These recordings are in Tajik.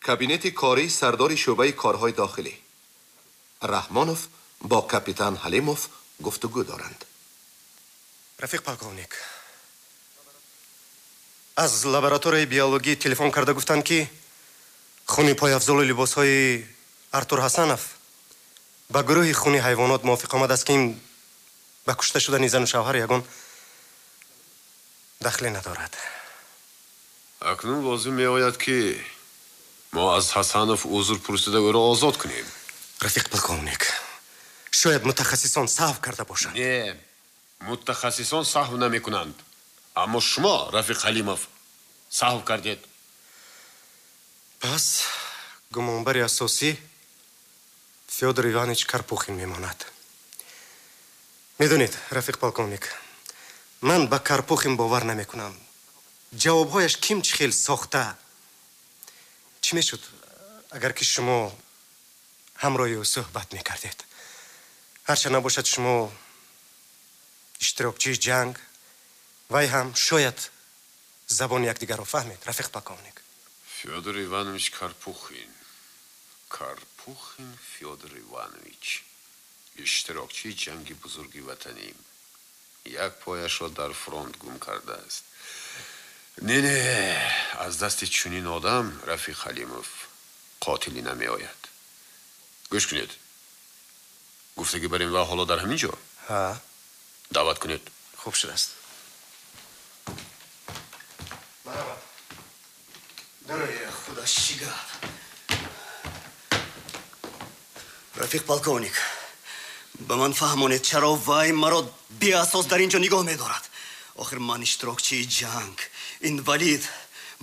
Кабинети кории сардори шӯъбаи корҳои дохилӣ. Раҳмонов бо капитан Ҳалимов гуфтугӯ доранд. Рафиқ полковник, аз лабораторияи биологӣ телефон карда гуфтанд, ки хуни пойафзолу либосҳои Артур Ҳасанов ба гурӯҳи хуни ҳайвонот мувофиқ омадааст, ки ин ба кушта шудани зану шавҳар ягон дахле надорад. Акнун лозим меояд, ки мо аз Ҳасанов узр пурсида, ӯро озод кунем. Рафиқ полковник, шояд мутахассисон саҳв карда бошанд. Не, мутахассисон саҳв намекунанд, аммо шумо, рафиқ Ҳалимов, саҳв кардед. Пас гумонбари асосӣ Фёдор Иванович Карпухин мемонад. Медонед, рафиқ полковник, ман ба Карпухин бовар намекунам. Ҷавобҳояш ким чӣ хел сохта. Чӣ мешуд, агар ки шумо ҳамроҳи ӯ суҳбат мекардед? Ҳарчанд набошад, шумо иштирокчии ҷанг, вай ҳам шояд забони якдигарро фаҳмед, рафиқ полковник. Фёдор Иванович Карпухин, Карпухин Фёдор Иванович, иштирокчии ҷанги Бузурги Ватанӣ, як пояшро дар фронт гум кардааст. Не, не, аз дасти чунин одам, рафиқ Ҳалимов, қотилӣ намеояд. Гӯш кунед, гуфтагӣ бар ин ва ҳоло дар ҳамин ҷо. Ҳа. Даъват кунед. Хуб шудааст. Марҳамат. Худо шигад. Рафиқ полковник, ба ман фаҳмонед, чаро вай маро беасос дар ин ҷо нигоҳ медорад? Охир ман иштирокчии ҷанг, инвалид.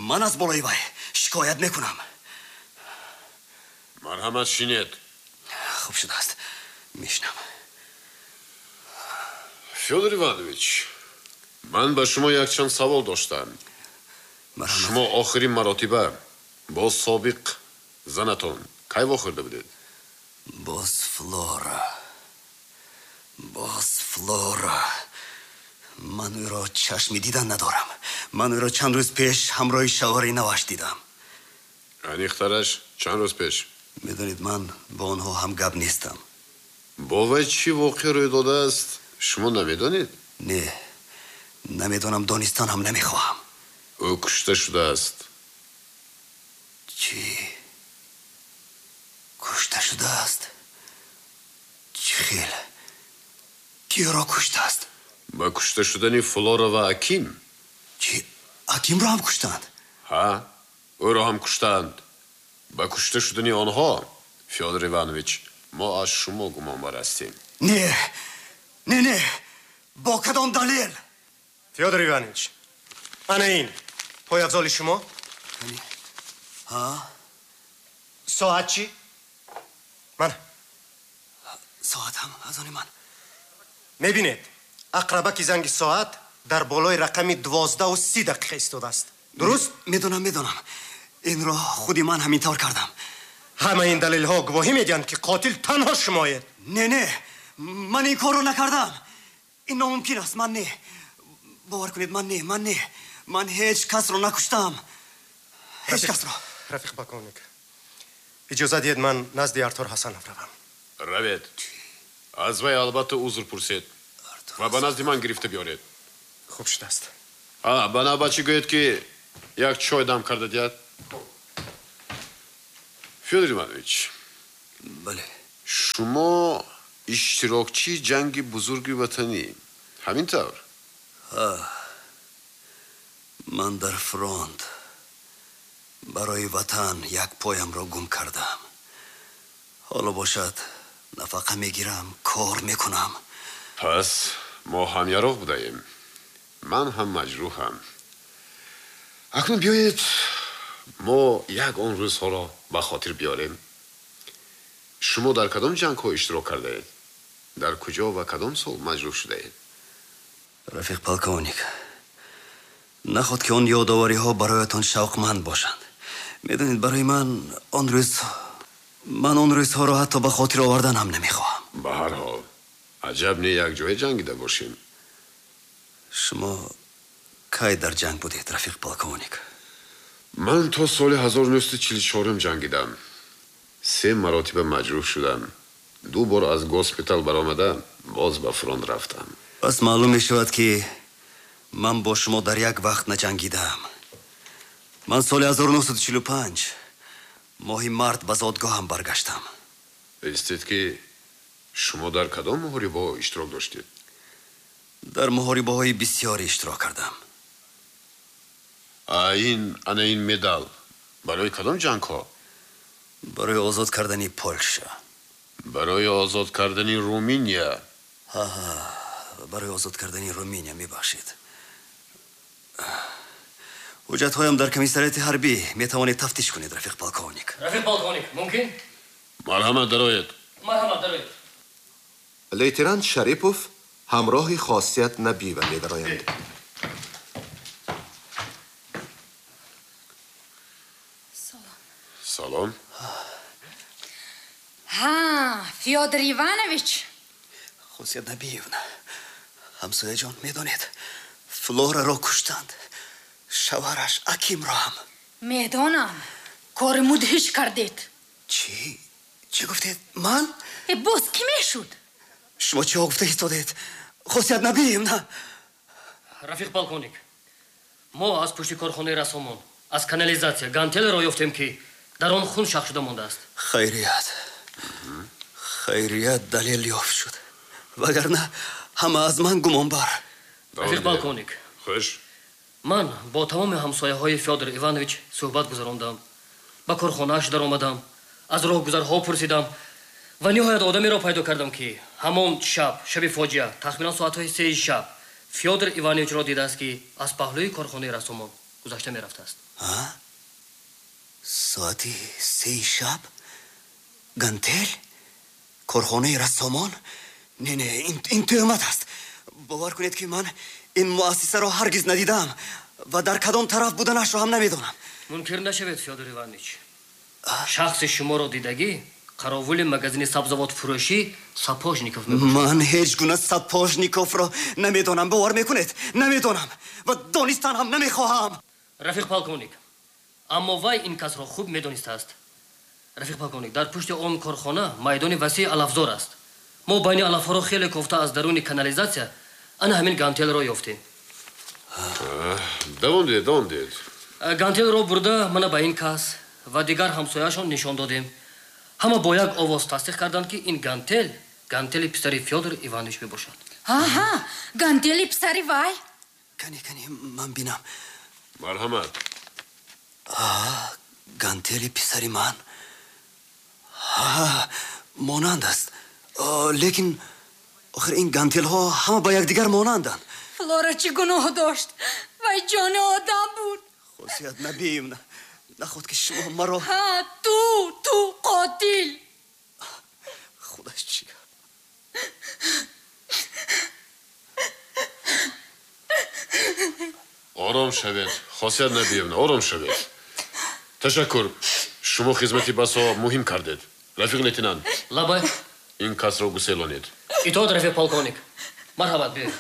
Ман аз болои вай шикоят мекунам. Марҳамат, шинед. Хуб шудааст, мешинам. Фёдор Иванович, ман ба шумо якчанд савол доштам. Шумо охирин маротиба бо собиқ занатон кай вохӯрда будед? Боз Флора, боз Флора. Ман ӯро чашми дидан надорам. Ман ӯро чанд рӯз пеш ҳамроҳи шавҳари наваш дидам. Аниқтараш, чанд рӯз пеш? Медонед, ман бо онҳо ҳамгап нестам. Бо вай чӣ воқеа рӯй додааст, шумо намедонед? Не, намедонам, донистан ҳам намехоҳам. Ӯ кушта шудааст. Чӣ? Кушта шудааст? Чӣ хел? Кӣ ӯро куштааст? Ба кушта шудани Флора ва Аким. Чӣ? Акимро ҳам куштанд? Ҳа, ӯро ҳам куштанд. Ба кушта шудани онҳо, Фёдор Иванович, мо аз шумо гумонбар ҳастем. Не, не, не, бо кадом далел? Фёдор Иванович, ана ин пойафзоли шумо. Ҳа. Соат чӣ? Мана. Соатам аз они ман. Мебинед, ақрабаки занги соат дар болои рақами 12:30 истодааст, дуруст? Медонам, медонам, инро худи ман ҳамин тавр кардам. Ҳама ин далелҳо гувоҳӣ медиҳанд, ки қотил танҳо шумоед. Не, не, ман ин корро накардам. Ин номумкин аст. Ман не, бовар кунед, ман не, ман не, ман ҳеҷ касро накуштам, ҳеҷ касро. Рафиқ полковник, иҷоза диҳед, ман назди Артур Ҳасанов равам. Равед. Аз вай албатта узр пурсед ва ба назди ман гирифта биёред. Хуб шудааст. Ба навбатчӣ гӯед, ки як чой дам карда диҳад. Фёдор Иванович. Бале. Шумо иштирокчии ҷанги Бузурги Ватанӣ, ҳамин тавр? Ман дар фронт барои ватан як поямро гум кардам. Ҳоло бошад, нафақа мегирам, кор мекунам. Пас мо ҳамяроқ будаем. Ман ҳам маҷрӯҳам. Акнун биёед, мо як он рӯзҳоро ба хотир биёрем. Шумо дар кадом ҷангҳо иштирок кардаед? Дар куҷо ва кадом сол маҷрӯҳ шудаед? Рафиқ полковник, наход ки он ёдовариҳо бароятон шавқманд бошанд. Медонед, барои ман он рӯз, ман он рӯзҳоро ҳатто ба хотир овардан ҳам намехоҳам. Ба ҳар ҳол, аҷаб не якҷоя ҷангида бошем. Шумо кай дар ҷанг будед, рафиқ полковник? Ман то соли 1944 ҷангидам. 3 маротиба маҷрӯҳ шудам. 2 бор аз госпитал баромада боз ба фронт рафтам. Пас маълум мешавад, ки ман бо шумо дар як вақт наҷангидаам. Ман соли 1945 моҳи март ба зодгоҳам баргаштам. Истед, ки шумо дар кадом муҳорибаҳо иштирок доштед? Дар муҳорибаҳои бисёре иштирок кардам. Ана ин медал барои кадом ҷангҳо? Барои озод кардани Полша. Барои озод кардани Руминия. Ҳа, барои озод кардани Руминия, мебахшед. Ҳуҷҷатҳоям дар комиссариати ҳарбӣ, метавонед тафтиш кунед, рафиқ полковник. Рафиқ полковник, мумкин? Марҳамат, дароед. Марҳамат, дароед. Лейтенант Шарипов ҳамроҳи Хосият Набиева медароянд. Салом. Ҳа, Фёдор Иванович. Хосият Набиевна, ҳамсояҷон, медонед, Флораро куштанд. Шавҳараш Акимро ҳам. Медонам, кори мудҳиш кардед. Чӣ? Чӣ гуфтед? Ман? Боз кӣ мешуд? Шумо чиҳо гуфта истодед? Хосият Набиевна. Рафиқ полковник, мо аз пушти корхонаи рассомон аз канализатсия гантелеро ёфтем, ки дар он хун шах шуда мондааст. Хайрият, хайрият, далел ёфт шуд, вагарна ҳама аз ман гумонбар. Рафиқ полковник, хуш. Ман бо тамоми ҳамсояҳои Фёдор Иванович суҳбат гузарондам, ба корхонааш даромадам, аз роҳгузарҳо пурсидам ва ниҳоят одамеро пайдо кардам, ки ҳамон шаб, шаби фоҷиа, тахминан соатҳои 3 шаб Фёдор Ивановичро дидааст, ки аз паҳлӯи корхонаи рассомон гузашта мерафтааст. Соати 3 шаб? Гантел? Корхонаи рассомон? Не, не, ин тӯҳмат аст. Бовар кунед, ки ман ин муассисаро ҳаргиз надидаам ва дар кадом тараф буданашро ҳам намедонам. Мункир нашавед, Фёдор Иванович. Шахси шуморо дидагӣ қаровули магазини сабзавотфурӯшӣ Сапожников мебошад. Ман ҳеҷ гуна Сапожниковро намедонам, бовар мекунед? Намедонам ва донистан ҳам намехоҳам. Рафиқ полковник, аммо вай ин касро хуб медонистааст. Рафиқ полковник, дар пушти он корхона майдони васеи алафзор аст. Мо байни алафҳоро хеле кофта аз даруни канализатсия ана ҳамин гантелро ёфтем. Давом диҳед, давом диҳед. Гантелро бурда мана ба ин кас ва дигар ҳамсояашон нишон додем. Ҳама бо як овоз тасдиқ карданд, ки ин гантел гантели писари Фёдор Иванович мебошад. Аҳа, гантели писари вай. Кани, кани, ман бинам. Марҳамат. Гантели писари ман. Монанд аст. Лекин охир ин гантелҳо ҳама ба якдигар монанданд. Флора чӣ гуноҳ дошт? Вай ҷони одам буд. Хосият Набиевна, наход ки шумо маро. Ҳа, ту қотил. Худаш чӣ? Ором шавед, Хосият Набиевна, ором шавед. Ташаккур, шумо хизмати басо муҳим кардед. Рафиқ лейтенант. Лабай. Ин касро гуселонед. Итоат, рафиқ полковник. Марҳабат, биёед.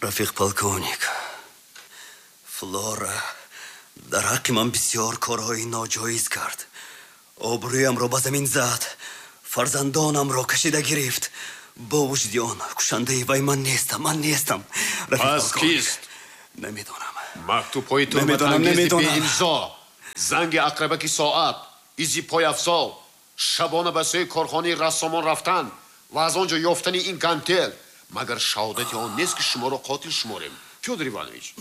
Рафиқ полковник, Флора дар ҳаққи ман бисёр корҳои ноҷоиз кард. Обрӯямро ба замин зад, фарзандонамро кашида гирифт. Бо вуҷуди он кушандаи вай ман нестам, ман нестам. Пас кист? Намедонам. Мактубҳои туҳматангези беимзо, занги ақрабаки соат, изи пойафзол, шабона ба сӯи корхонаи рассомон рафтан ва аз он ҷо ёфтани ин гантел магар шаҳодати он нест, ки шуморо қотил шуморем? Фёдор Иванович,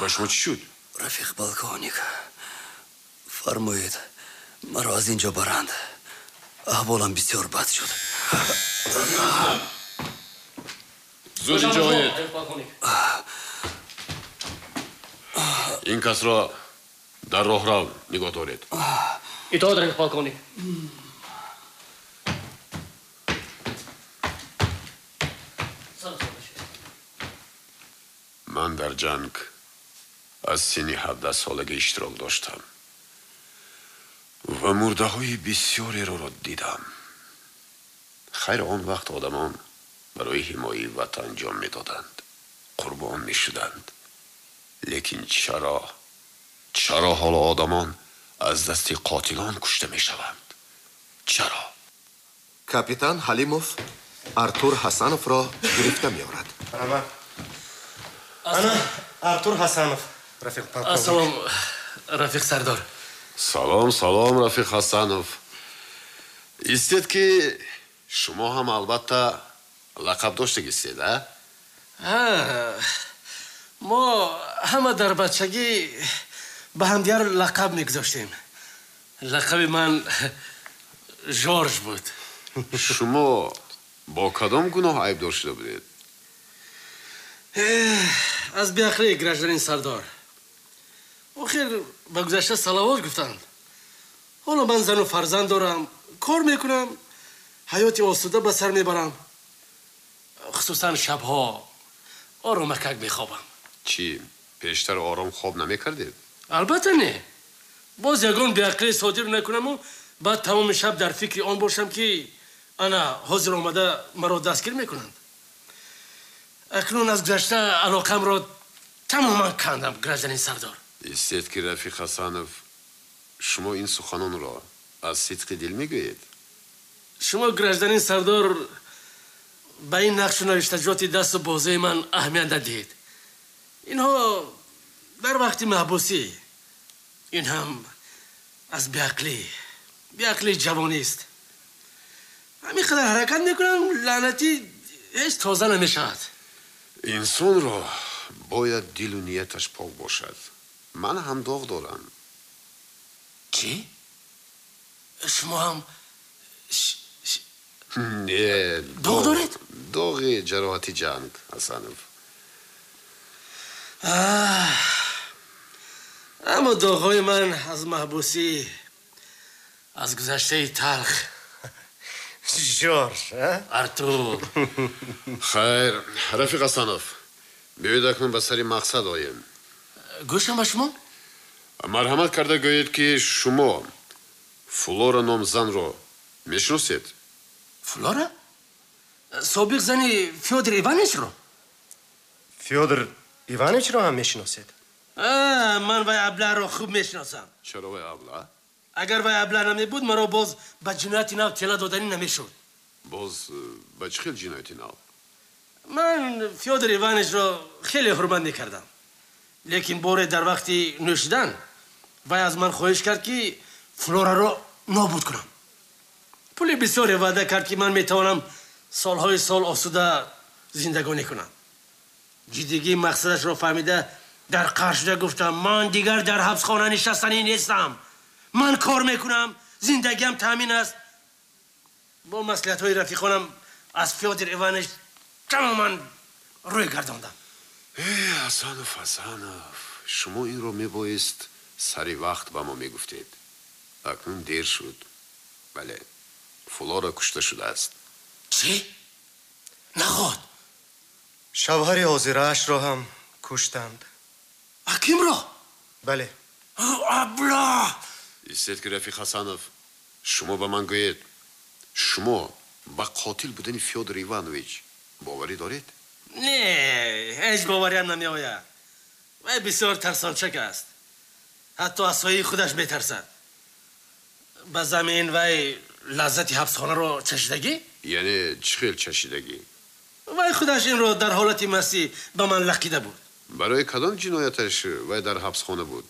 ба шумо чӣ шуд? Рафиқ полковник, фармоед маро аз ин ҷо баранд. Аҳволам бисёр бад шуд. Зуд инҷо оед. Ин касро дар роҳрав нигоҳ доред. Итоат, рафиқ полковник. Ман дар ҷанг аз синни 17 солагӣ иштирок доштам ва мурдаҳои бисёреро дидам. Хайр, он вақт одамон барои ҳимояи ватан ҷон медоданд, қурбон мешуданд. Лекин чаро? Чаро ҳоло одамон аз дасти қотилон кушта мешаванд? Чаро? Капитан Ҳалимов Артур Ҳасановро гирифта меорад. Ана Артур Ҳасанов, рафиқ полковник. Ассалом, рафиқ сардор. Салом, салом, рафиқ Ҳасанов. Истед, ки шумо ҳам албатта лақаб доштагистед, а? Мо ҳама дар бачагӣ ба ҳамдигар лақаб мегузоштем. Лақаби ман Жорж буд. Шумо бо кадом гуноҳ айбдор шуда будед? Аз беақлӣ, гражданин сардор. Охир ба гузашта салавот гуфтанд. Ҳоло ман зану фарзанд дорам, кор мекунам, ҳаёти осуда ба сар мебарам. Хусусан шабҳо оромакак мехобам. Чӣ, пештар ором хоб намекардед? Албатта не. Боз ягон беақлӣ содир накунаму баъд тамоми шаб дар фикри он бошам, ки ана ҳозир омада маро дастгир мекунанд. Акнун аз гузашта алоқамро тамоман кандам, гражданин сардор. Истед, ки рафиқ Ҳасанов, шумо ин суханонро аз сидқи дил мегӯед? Шумо, гражданин сардор, ба ин нақшу навиштаҷоти дасту бозуи ман аҳамият надиҳед. Инҳо дар вақти маҳбусӣ, ин ҳам аз беақлии ҷавонист. Ҳамин қадар ҳаракат мекунам, лаънатӣ ҳеҷ тоза намешавад. Инсонро бояд дилу нияташ пок бошад. Ман ҳам доғ дорам. Чӣ? Шумо ҳам Не, доғ доред? Доғи ҷароҳати ҷанг, Ҳасанов. Аммо доғҳои ман аз маҳбусӣ, аз гузаштаи талх. Жорж, Артур. Хайр, рафиқ Ҳасанов, биёед акнун ба сари мақсад оем. Гӯшам ба шумо. Марҳамат карда гӯед, ки шумо Флора ном занро мешиносед? Флора? Собиқ зани Фёдор Ивановичро? Фёдор Ивановичро ҳам мешиносед? Ман вай аблаҳро хуб мешиносам. Чаро вай абла? Агар вай абла намебуд, маро боз ба ҷинояти нав тела доданӣ намешуд. Боз ба чӣ хел ҷинояти нав? Ман Фёдор Ивановичро хеле ҳурмат мекардам. Лекин боре дар вақти нӯшидан вай аз ман хоҳиш кард, ки Флораро нобуд кунам. Пули бисёре ваъда кард, ки ман метавонам солҳои сол осуда зиндагонӣ кунам. Ҷиддигии мақсадашро фаҳмида, дар қаҳр шуда гуфтам: ман дигар дар ҳабсхона нишастанӣ нестам. Ман кор мекунам, зиндагиам таъмин аст. Бо маслиҳатҳои рафиқонам аз Фёдор Иванович тамоман рӯй гардондам. Ҳасанов, Ҳасанов, шумо инро мебоист сари вақт ба мо мегуфтед. Акнун дер шуд. Бале, Флора кушта шудааст. Чӣ? Наход? Шавҳари ҳозираашро ҳам куштанд. Акимро? Бале. Абла! Истед, ки рафиқ Ҳасанов, шумо ба ман гӯед, шумо ба қотил будани Фёдор Иванович боварӣ доред? Не, ҳеҷ бовариам намеояд. Вай бисёр тарсончак аст. Ҳатто аз сояи худаш метарсад. Ба замин вай лаззати ҳабсхонаро чашидагӣ? Яъне чӣ хел чашидагӣ? Вай худаш инро дар ҳолати мастӣ ба ман лақида буд. Барои кадом ҷинояташ вай дар ҳабсхона буд?